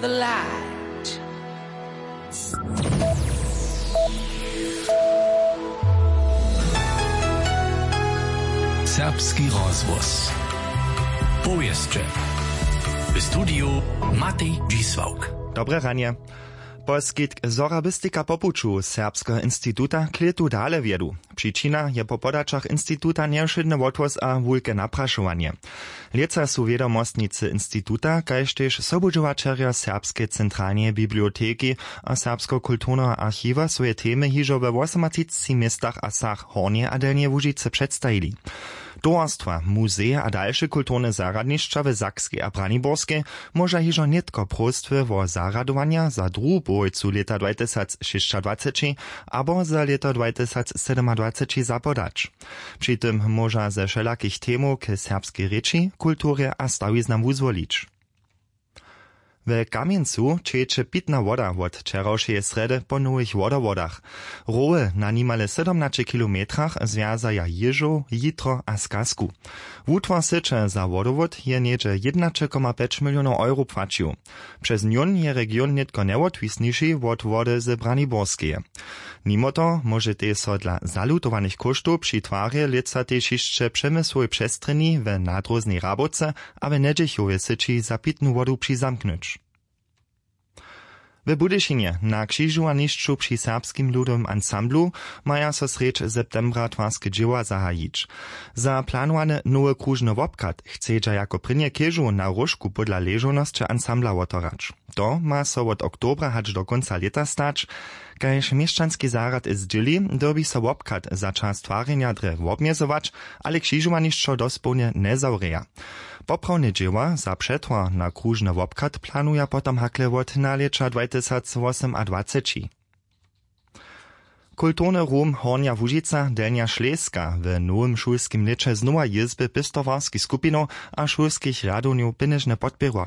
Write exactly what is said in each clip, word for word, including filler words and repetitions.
The light. Serbski rozhłos. Powěsće. W studiju Matej Dźisławk. Dobre ranje. Poskitk zorabistika po puću Serbskeho instituta k lětu dale wjedu. Přičina je po podaćach instituta njewšědny wothłós a wulke naprašowanje. Lětsa su wědomostnicy instituta kaž tež sobudźěłaćerjo Serbskeje centralneje biblioteki a Serbskeho kulturneho archiwa swoje temy hižo we wosomatřiceći městach a wsach Hornjeje a Delnjeje Łužicy předstajili. Towarstwa, muzeje a dalše kulturne zarjadnišća w Sakskej a Braniborskej móža hižo nětko próstwy wo zarjadowanja za druhu połojcu lěta dwatysacšěsćadwaceći abo za lěto dwatysacsydomadwaceći zapodać. Při tym móža ze wšelakich temow k serbskej rěči, kulturje a stawiznam wuzwolić. W Kamjencu ćejeće pitna woda wot wčerawšeje srjedy po nowych wodowodach. Rowy na nimale sydomnaće kilometrach zwjazaja Jěžow, Jitro a Skazku. Wutwar syće za wodowod je něhdźe jědnaće koma pjeć milionow euro płaćił. Přez njón je region nětko njewotwisniši wot wody z Braniborskeje. Nimo toho móžetej so dla zalutowanych kóštow při twarje lětsa tež hišće w přemysłowej přestrjeni, w nadróznej Rabowce a w Njedźechowje syći za pitnu wodu přizamknyć. W Budyšinje na křižowanišću při Serbskim ludowym ansamblu maja so srjedź septembra twarske dźěła zahajić. Za planowany nowy króžny wobchad chcedźa jako prěnje chěžu na róžku podla ležownosće ansambla woterać. To ma so wot oktobra hač do kónca lěta stać. Kaž měšćanski zarjad zdźěli, dyrbi so wobchad za čas twarjenja drje wobmjezować, ale křižowanišćo dospołnje njezawrěja. Poprawne dźěła za přetwar na króžny wobchad planuja potom hakle wot nalěća dwatysacwosomadwaceći. Kulturny rum Hornja Łužica, Delnja Šleska w nowym šulskim lěće znowa jězby pěstowarskich skupinow a šulskich rjadownjow pěnježnje podpěrła.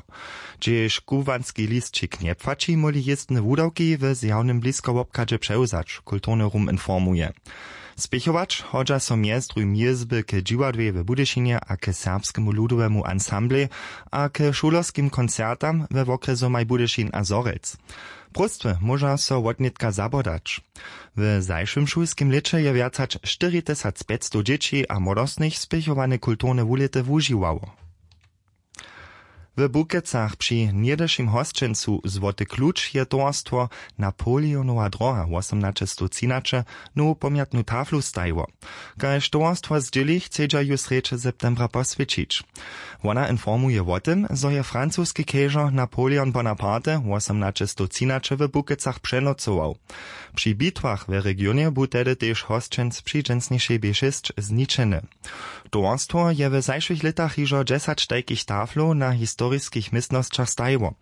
Hdźež kubłanski lisćik njepłaći, móhli jězbne wudawki w zjawnym bliskowobchadźe přewzać, kulturny rum informuje. Spěchować hodźa so mjez druhim jězby k dźiwadłej w Budyšinje a k Serbskemu ludowemu ansamblej a k šulerskim koncertam we wokrjesomaj Budyšin a Zhorjelc. Próstwy móža so wotnětka zabodać. W zašłym šulskim lěće je wjac hač štyri tysac pjećstow dźěći a młodostnych spěchowane kulturne wulěty wužiwało. W Bukecach při něhdyšim hosćencu Złoty kluč je towarstwo Napoleonowa droha wosomnaće stow třinaće nowu pomjatnu taflu stajiło. Kaž towarstwo zdźěli, chcedźa ju srjedź septembra poswjećić. Wona informuje wo tym, zo je francoski chěžo Napoleon Bonaparte wosomnaće stow třinaće w Bukecach přenocował. Při bitwach w regionje bu tehdy tež hosćenc při dźensnišej B šěsć zničeny. Towarstwo je w zašłych lětach hižo dźesać tajkich taflow na historiskich městnosćach stajiło,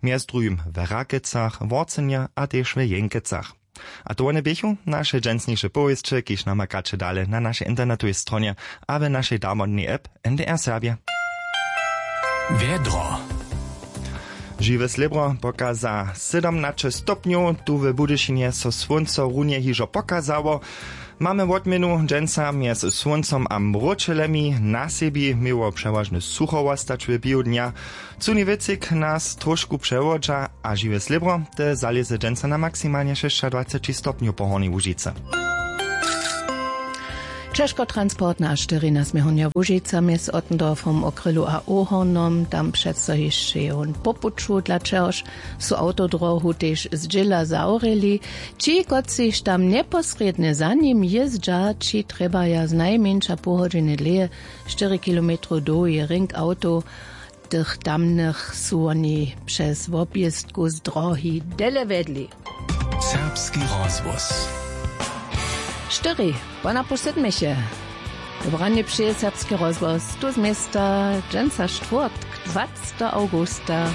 mjez druhim w Rakecach, Worcenje a tež w Jenkecach. A to wone běchu naše dźensniše powěsće, kiž namakaće dale na našej internetowej stronje a w našej damodnej app N D R Serbje. Wjedro. Žiwe slěbro pokaza sydomnaće stopnjow, tu w Budyšinje so słónco runje hižo pokazało. Mamy wotměnu dźensa mjez słóncom a mróčelemi. Na sebi měło přewažnje sucho wostać w běhu dnja. Cuni wětřik nas trošku přewodźa a žiwe slěbro te zalěze dźensa na maksimalnje šěsćadwaceći stopnjow po Hornjej Łužicy. Ćežkotransportna a štyri na směr Hornja Łužica mjez Ottendorfom, Okrylu a Ohornom, tam přeco hišće je wón po puću, dla čehož su awtodrohu tež zdźěla zawrěli. Ći, kotřiž tam njeposrědnje za nim jězdźa, ći trjebaja znajmjeńša poł hodźiny dlěje štyri kilometrow dołhi rink awtow. Tych tamnych su woni přez wobjěztku z drohi dele wjedli. Serbski rozhłos. Štyri, ponapoł sydmeše. Dobranje přeje Serbski rozhłos tu z města, dźensa štwórtk, dwacetego awgusta.